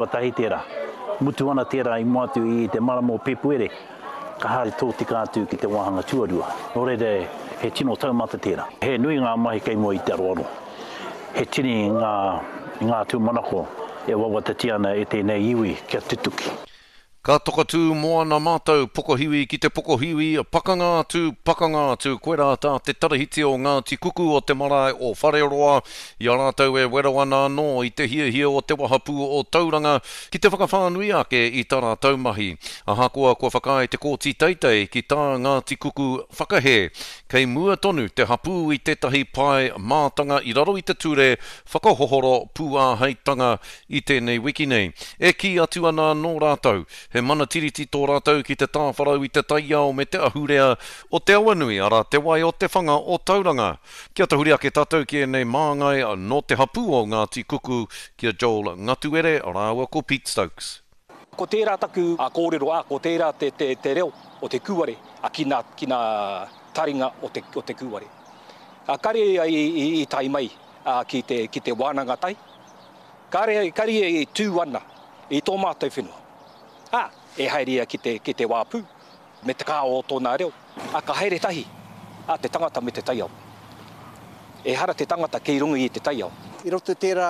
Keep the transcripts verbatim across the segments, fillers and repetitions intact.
Tuatahi tērā, mutu ana tērā i mua atu i te marama o Pēpuere, ka haere tōtika atu ki te wāhanga tuarua. Nō reira, he tino taumata tērā. He nui ngā mahi kei mua i te aroaro. He tini ngā, ngā tūmanako e wawatatia ana e tēnei iwi kia tutuki. Ka tokatū moana mātou, pokohiwi ki te pokohiwi, pakanga atu, pakanga atu, koirā tā te tarahiti o Ngāti Kuku o te marae o Whareroa, i a rātou e wero ana anō i te hiahia o te wahapū o Tauranga ki te whakawhānui ake i tā rātou mahi. Ahakoa kua whakaae te Kōti Teitei ki tā Ngāti Kuku whakahē, kei mua tonu te hapū i tētahi pae mātanga i raro i te ture whakahohoro pūāheitanga i tēnei wiki nei. E kī atu ana anō rātou, he mana tiriti tō rātou ki te tāwharau i te taiao me te ahurea o te awanui, arā te wai o te whanga o Tauranga. Kia tahuri ake tātou ki ēnei māngai nō te hapū o Ngāti Kuku, ki a Joel Ngatuere rāua ko Pete Stokes. Ko tērā taku kōrero, ā, ko tērā te, te, te reo o te kūare a ki nā, ki nā taringa o te, o te kūare. A, kare ia i, i, i tae mai a, ki, te, ki te wānanga tai. Kare, kare ia i tū ana i tō mātou whenua. Ā, e haere ia ki te, ki te wāpū me te kā o tōna reo. Ā, ka haere tahi a te tangata me te taiao. Ehara te tangata kei runga i te taiao. I roto i tērā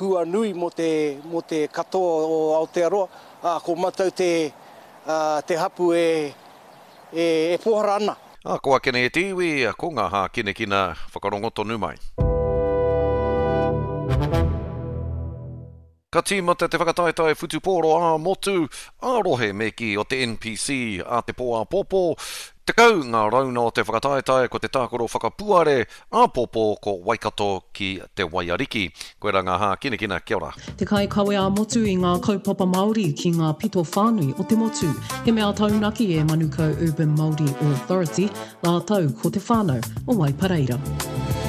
hua nui mō te, mō te katoa o Aotearoa, ā, ko mātou te, ā, te hapu e, e, e pōhara ana. Ā, ko ake nei e te iwi, ko ngā hākinakina whakarongo tonu mai. Ka tīmata te whakataetae whutupōro ā-motu, ā-rohe me kī o te N P C a te pō āpōpō. Tekau ngā rauna o te whakataetae ko te tākaro whakapuare āpōpō ko Waikato ki te Waiariki. Koirā ngā hākinakina, kia ora. Te kaikawe ā-motu i ngā kaupapa Māori ki ngā pito whānui o te motu. He mea taunaki e Manukau Urban Māori Authority, rātou ko te whānau o Waipareira.